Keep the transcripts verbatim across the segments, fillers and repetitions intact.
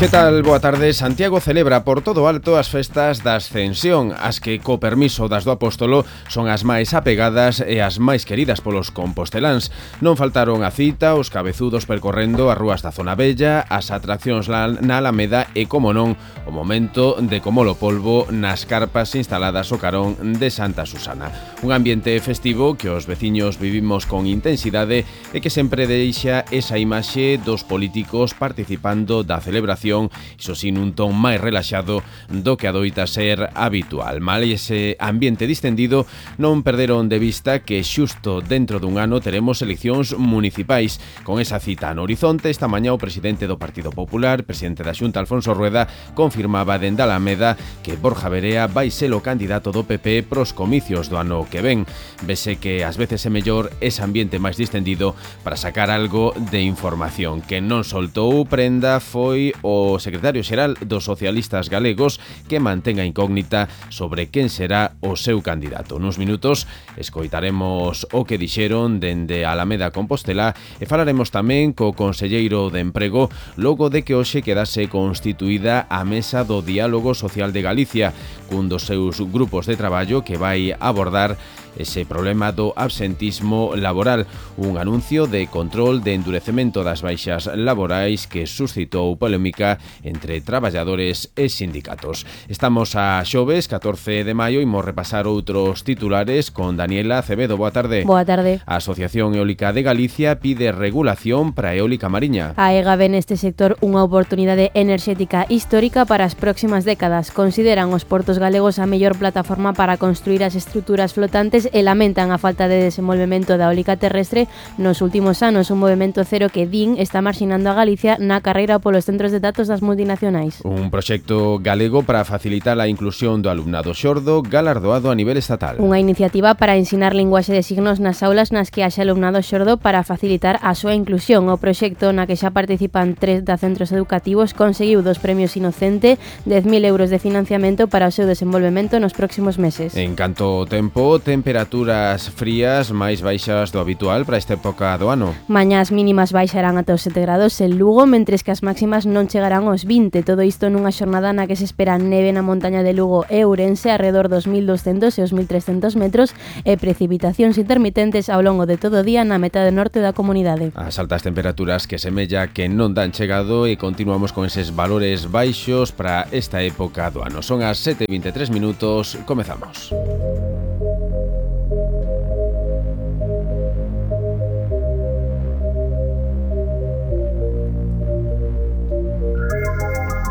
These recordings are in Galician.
Que tal? Boa tarde. Santiago celebra por todo alto as festas da Ascensión, as que, co permiso das do Apóstolo, son as máis apegadas e as máis queridas polos composteláns. Non faltaron a cita os cabezudos percorrendo as rúas da Zona Bella, as atraccións na Alameda e, como non, o momento de comolo polvo nas carpas instaladas ao carón de Santa Susana. Un ambiente festivo que os veciños vivimos con intensidade e que sempre deixa esa imaxe dos políticos participando da celebración, iso sin un ton máis relaxado do que adoita ser habitual. Mal ese ambiente distendido, non perderon de vista que xusto dentro dun ano teremos eleccións municipais. Con esa cita no horizonte, esta mañá o presidente do Partido Popular, presidente da Xunta, Alfonso Rueda, confirmaba dende Alameda que Borja Verea vai ser o candidato do P P pros comicios do ano que ven. Vese que ás veces é mellor ese ambiente máis distendido para sacar algo de información. Que non soltou prenda foi o O secretario xeral dos socialistas galegos, que mantén a incógnita sobre quen será o seu candidato. Nuns minutos escoitaremos o que dixeron dende Alameda Compostela e falaremos tamén co conselleiro de Emprego logo de que hoxe quedase constituída a Mesa do Diálogo Social de Galicia, cun dos seus grupos de traballo que vai abordar ese problema do absentismo laboral, un anuncio de control de endurecemento das baixas laborais que suscitou polémica entre traballadores e sindicatos. Estamos a xoves, catorce de maio, e imos repasar outros titulares con Daniela Acevedo. Boa tarde. Boa tarde. A Asociación Eólica de Galicia pide regulación para a eólica mariña. A EGA ve neste sector unha oportunidade enerxética histórica para as próximas décadas. Consideran os portos galegos a mellor plataforma para construir as estruturas flotantes e lamentan a falta de desenvolvemento da eólica terrestre nos últimos anos, un movimento cero que din está marxinando a Galicia na carreira polos centros de datos das multinacionais. Un proxecto galego para facilitar a inclusión do alumnado xordo galardoado a nivel estatal. Unha iniciativa para ensinar linguaxe de signos nas aulas nas que haxa alumnado xordo para facilitar a súa inclusión. O proxecto, na que xa participan tres da centros educativos, conseguiu dos premios Inocente, dez mil euros de financiamento para o seu desenvolvemento nos próximos meses. En canto ao tempo, temperaturas frías máis baixas do habitual para esta época do ano. Mañás mínimas baixarán ata os sete grados en Lugo, mentres que as máximas non chegarán aos vinte. Todo isto nunha xornada na que se espera neve na montaña de Lugo e Ourense arredor dos mil doscentos e os mil trescentos metros e precipitacións intermitentes ao longo de todo o día na metade norte da comunidade. As altas temperaturas que semella que non dan chegado e continuamos con eses valores baixos para esta época do ano. Son as sete e vinte e tres minutos, comezamos.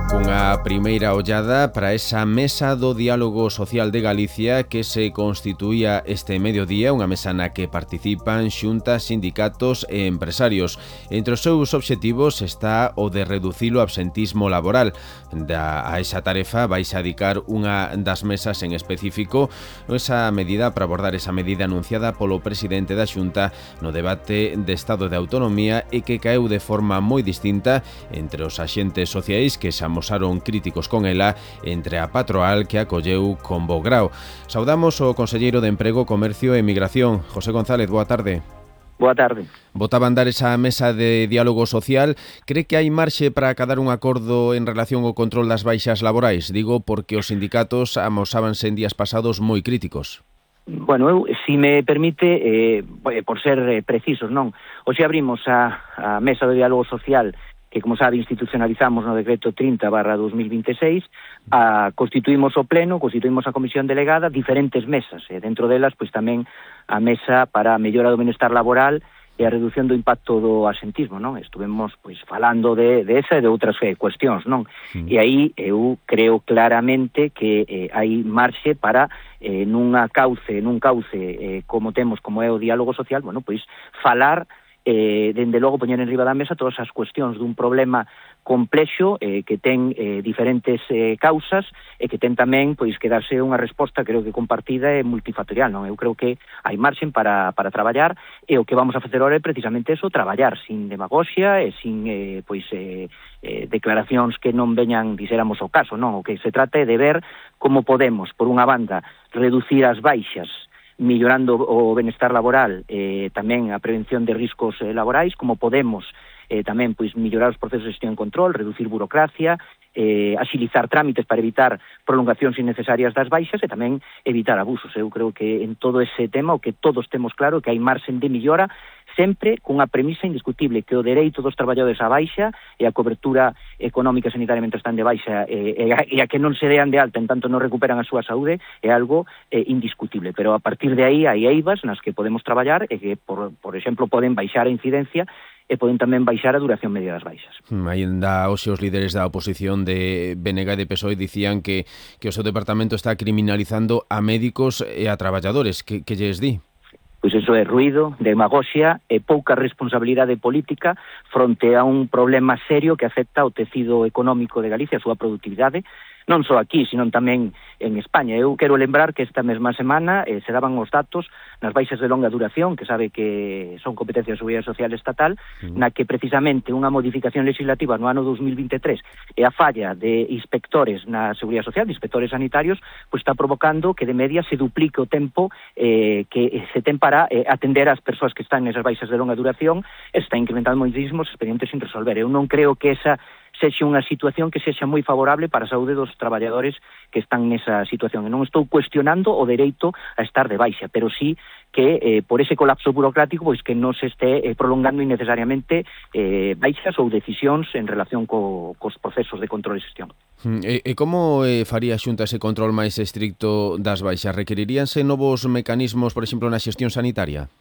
Cunha primeira ollada para esa Mesa do Diálogo Social de Galicia que se constituía este mediodía, unha mesa na que participan xuntas, sindicatos e empresarios. Entre os seus obxectivos está o de reducir o absentismo laboral. Da, a esa tarefa vais a dedicar unha das mesas en específico, esa medida para abordar esa medida anunciada polo presidente da Xunta no debate de Estado de Autonomía e que caeu de forma moi distinta entre os axentes sociais que xa amosaron críticos con ela entre a patroal que acolleu con bo grao. Saudamos o conselleiro de Emprego, Comercio e Migración, José González. Boa tarde. Boa tarde. Botaba a andar esa mesa de diálogo social. Cree que hai marxe para acadar un acordo en relación ao control das baixas laborais? Digo porque os sindicatos amosábanse en días pasados moi críticos. Bueno, eu, si me permite, eh, por ser eh, precisos, non? Hoxe abrimos a, a mesa de diálogo social que, como sabe, institucionalizamos no decreto trinta barra dos mil vinte e seis, a, constituímos o pleno, constituímos a comisión delegada, diferentes mesas, e dentro delas, pois tamén a mesa para a mellora do benestar laboral e a reducción do impacto do absentismo, non? Estuvemos, pois, falando de, de esa e de outras eh, cuestións, non? Mm. E aí eu creo claramente que eh, hai marxe para, eh, nunha cauce, nun cauce eh, como temos, como é o diálogo social, bueno, pois, falar eh, dende logo poñer en riba da mesa todas as cuestións dun problema complexo eh, que ten eh, diferentes eh, causas e que ten tamén pois que darse unha resposta creo que compartida e multifactorial, non? Eu creo que hai marxen para, para traballar e o que vamos a facer ahora é precisamente eso, traballar sin demagoxia e sin eh, pois eh, eh, declaracións que non veñan, dixéramos, o caso, non? O que se trata é de ver como podemos, por unha banda, reducir as baixas millorando o benestar laboral, eh, tamén a prevención de riscos eh, laborais, como podemos eh, tamén pois mellorar os procesos de xestión e control, reducir burocracia, eh, axilizar trámites para evitar prolongacións innecesarias das baixas e tamén evitar abusos. Eu creo que en todo ese tema o que todos temos claro que hai marxen de millora, sempre cunha premisa indiscutible, que o dereito dos traballadores á baixa e a cobertura económica e sanitaria mentre están de baixa e, e, a, e a que non se dean de alta en tanto non recuperan a súa saúde é algo eh, indiscutible, pero a partir de aí hai eivas nas que podemos traballar e que, por, por exemplo, poden baixar a incidencia e poden tamén baixar a duración media das baixas. Ainda hoxe os líderes da oposición de B N G e de P S O E dicían que, que o seu departamento está criminalizando a médicos e a traballadores. Que, que lles di? Pois iso é ruído, demagoxia e pouca responsabilidade política fronte a un problema serio que afecta ao tecido económico de Galicia, a súa productividade, non só aquí, sino tamén en España. Eu quero lembrar que esta mesma semana eh, se daban os datos nas baixas de longa duración, que sabe que son competencia da Seguridade Social Estatal, mm. na que precisamente unha modificación legislativa no ano dos mil vinte e tres e a falla de inspectores na Seguridade Social, de inspectores sanitarios, pois está provocando que de media se duplique o tempo eh, que se ten para eh, atender as persoas que están nesas baixas de longa duración e está incrementando moitísimos expedientes sin resolver. Eu non creo que esa sexa unha situación que sexa moi favorable para a saúde dos traballadores que están nesa situación. E non estou cuestionando o dereito a estar de baixa, pero sí que eh, por ese colapso burocrático pois que non se este eh, prolongando innecesariamente eh, baixas ou decisións en relación co, cos procesos de control e xestión. E, e como eh, faría a Xunta ese control máis estricto das baixas? Requeriríanse novos mecanismos, por exemplo, na xestión sanitaria?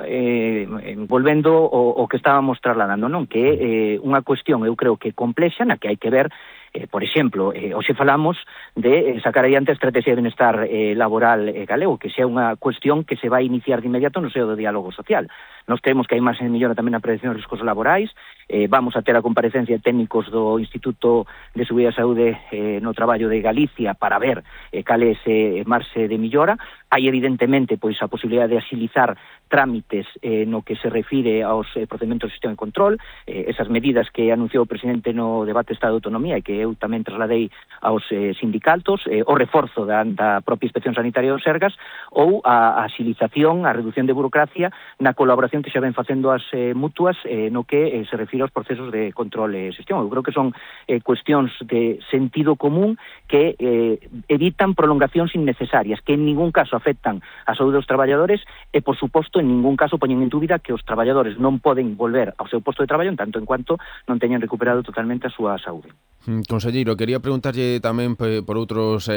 Eh, volvendo o, o que estábamos trasladando, non? Que é eh, unha cuestión, eu creo que complexa, na que hai que ver, eh, por exemplo, eh, hoxe falamos de eh, sacar adiante a estrategia de benestar eh, laboral eh, galego, que xa é unha cuestión que se vai iniciar de inmediato no seo do diálogo social. Nós creemos que hai máis en millora tamén na prevención de riscos laborais, eh, vamos a ter a comparecencia de técnicos do Instituto de Seguridade e Saúde eh, no Traballo de Galicia para ver eh, cal é ese marxe de millora. Hai evidentemente pois a posibilidade de axilizar trámites eh, no que se refire aos eh, procedementos de xestión e control, eh, esas medidas que anunciou o presidente no debate de Estado de Autonomía e que eu tamén trasladei aos eh, sindicatos, eh, o reforzo da, da propia Inspección Sanitaria dos Sergas ou a, a axilización, a reducción de burocracia na colaboración que xa ven facendo as eh, mutuas eh, no que eh, se refire aos procesos de control e xestión. Eu creo que son eh, cuestións de sentido común que eh, evitan prolongacións innecesarias, que en ningún caso afectan a saúde dos traballadores e, por suposto, en ningún caso poñen en dúbida que os traballadores non poden volver ao seu posto de traballo en tanto en cuanto non teñan recuperado totalmente a súa saúde. Conselleiro, quería preguntarlle tamén por outros